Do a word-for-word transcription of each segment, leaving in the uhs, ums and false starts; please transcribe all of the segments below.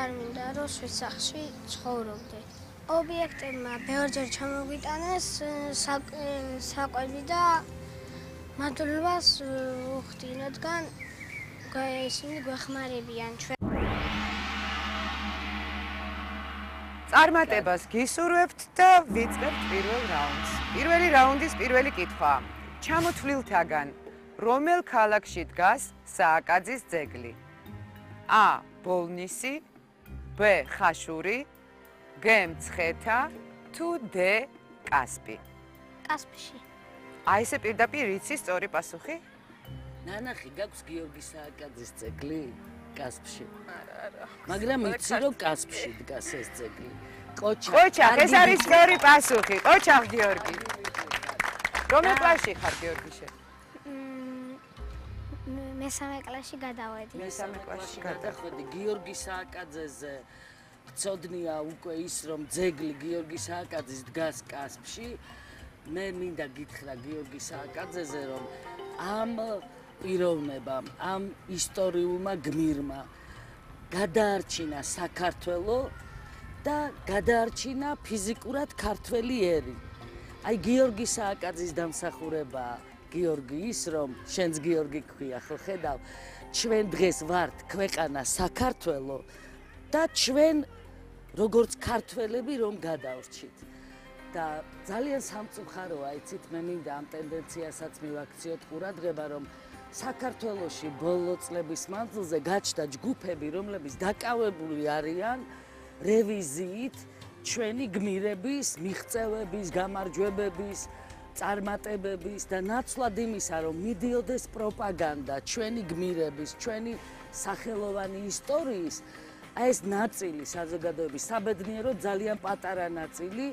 არ მინდა რომ სვიცახში ცხოვრობდე. ობიექტებმა ბევრჯერ ჩამოგვიტანეს საკვები და მადლობას ვუხდი, რადგან ისინი გვეხმარებიან ჩვენ. წარმატებას გისურვებთ და ვიწყებთ პირველ რაუნდს. პირველი რაუნდის პირველი კითხვა. ჩამოთვლილთაგან რომელ ქალაქში დგას სააკაძის ძეგლი? A. ბოლნისი, B. ხაშური, G. მცხეთა, თუ D. კასპი? კასპში. აი ესე პირდაპირ იცი სწორი პასუხი? ნანახი, გაქვს გიორგი სააკაძის ძეგლი კასპში. არა, არა. მაგრამ იცი რომ კასპში დგას ეს ძეგლი. ყოჩა. ყოჩა, ეს არის სწორი პასუხი. ყოჩა გიორგი. რომელ კლასში ხარ გიორგი შენ? მესამე კლასში გადავედი. მესამე კლასში გადავედი. გიორგი სააკაძეზე ცოდნია უკვე ის რომ ძეგლი გიორგი სააკაძის დგას კასპში. მე მინდა გითხრა გიორგი სააკაძეზე რომ ამ პიროვნებამ, ამ ისტორიულმა გმირმა გადაარჩინა საქართველო და გადაარჩინა ფიზიკურად ქართველი ერი. აი გიორგი სააკაძის დამსახურებაა გიორგი ის რომ შენც გიორგი ქვია ხო ხედავ ჩვენ დღეს ვართ ქვეყანა საქართველო და ჩვენ როგორც ქართველები რომ გადავრჩით და ძალიან სამწუხაროა იცით მე მინდა ამ ტენდენციასაც მივაქციოთ ყურადღება რომ საქართველოში ბოლო წლების მანძილზე გაჩნდა ჯგუფები რომლებიც დაკავებული არიან რევიზიით ჩვენი გმირების მიღწევების გამარჯვებების წარმატებების და ნაცვლად იმისა რომ მიდიოდეს პროპაგანდა ჩვენი გმირების ჩვენი სახელოვანი ისტორიის აი ეს ნაწილი საზოგადოების საბედნიეროდ ძალიან პატარა ნაწილი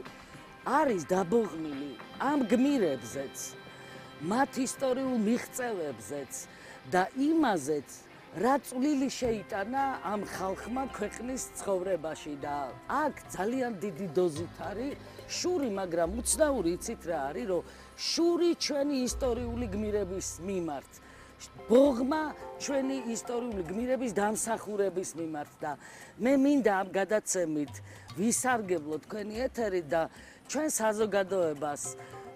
არის დაბოღმილი ამ გმირებზეც მათ ისტორიულ მიღწევებზეც და იმაზეც რა წვლილი შეიტანა ამ ხალხმა ქვეყნის ცხოვრებაში და აქ ძალიან დიდი დოზით არის შური, მაგრამ უცნაური იცით რა არის, რომ შური ჩვენი ისტორიული გმირების მიმართ, ბოღმა ჩვენი ისტორიული გმირების დამსახურების მიმართ და მე მინდა ამ გადაცემით ვისარგებლო თქვენი ეთერი და ჩვენ საზოგადოებას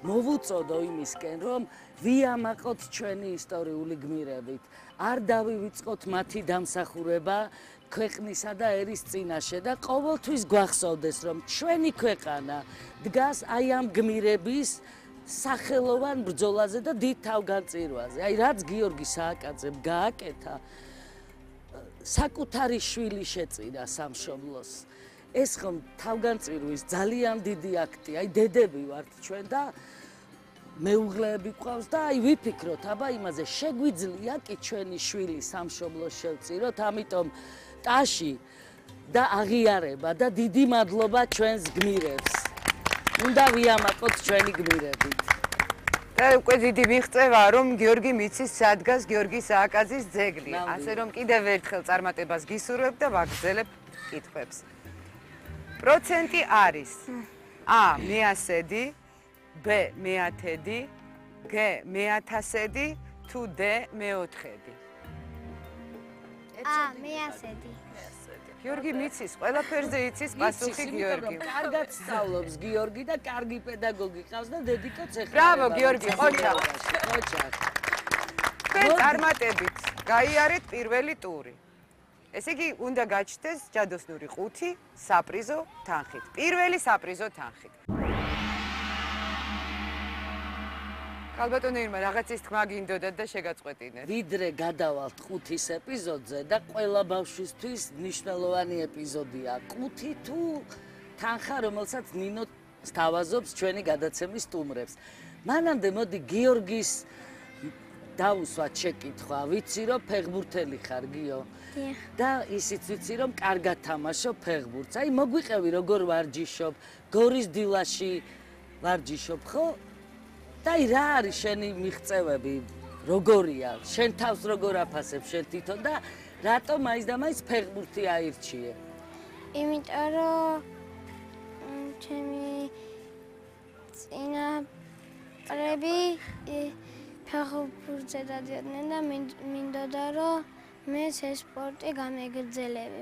მოვუწოდო იმისკენ, რომ ვიამაყოთ ჩვენი ისტორიული გმირებით, არ დავივიწყოთ მათი დამსახურება ქვეყნისა და ერის წინაშე და ყოველთვის გვახსოვდეს, რომ ჩვენი ქვეყანა დგას აი ამ გმირების სახელოვან ბრძოლაზე და დიდ თავგანწირვაზე. აი რაც გიორგი სააკაძემ გააკეთა, საკუთარი შვილი შეწირა სამშობლოს. ეს ხომ თავგანწირვის ძალიან დიდი აქტია. აი დედები ვართ ჩვენ და მეუღლეები გვყავს და აი ვიფიქროთ, აბა იმაზე შეგვიძლია კი ჩვენი შვილი სამშობლოს შევწიროთ, ამიტომ ტაში და აღიარება და დიდი მადლობა ჩვენს გმირებს. უნდა ვიამაყოთ ჩვენი გმირებით. და უკვე დიდი მიღწევაა რომ გიორგი მიცის სადგას გიორგი სააკაძის ძეგლი. ასე რომ კიდევ ერთხელ წარმატებას გისურვებ და ვაგრძელებ კითხვებს. პროცენტი არის A მეასედი, B მეათედი, G მეათასედი, თუ D მეოთხედი. A მეასედი. გიორგი მიცის, ყველაფერზე იცის პასუხი გიორგი. კარგად სწავლობს გიორგი და კარგი პედაგოგი ყავს და დედიკოც ეხება. ბრავო გიორგი, ყოჩა. ყოჩა. თქვენ წარმატებით გაიარეთ პირველი ტური. ესე იგი, უნდა გაჩნდეს ჯადოსნური ხუთი საპრიზო თანხით. პირველი საპრიზო თანხით. ქალბატონო ირმა, რაღაცის თქმა გინდოდათ და შეგაწყვეტინეთ. ვიდრე გადავალთ ყუთის ეპიზოდზე და ყველა ბავშვისთვის მნიშვნელოვანი ეპიზოდია. ყუთი თუ თანხა, რომელსაც ნინო სთავაზობს ჩვენი გადაცემის სტუმრებს. მანამდე მოდი გიორგის დავუსვათ შეკითხვა. ვიცი რომ ფეხბურთელი ხარ გიო? და ისიც ვიცი რომ კარგად თამაშობ ფეხბურთს. აი მოგვიყევი როგორ ვარჯიშობ, გორის დილაში ვარჯიშობ, ხო? და აი რა არის შენი მიღწევები? როგორია? შენ თავს როგორ აფასებ შენ თვითონ და რატომ მაინც და მაინც ფეხბურთი აირჩიე? იმიტომ რომ ჩემი წინაპრები ფეხბურთზე დადიოდნენ და მინდოდა რომ მეც ეს სპორტი გამეგრძელები.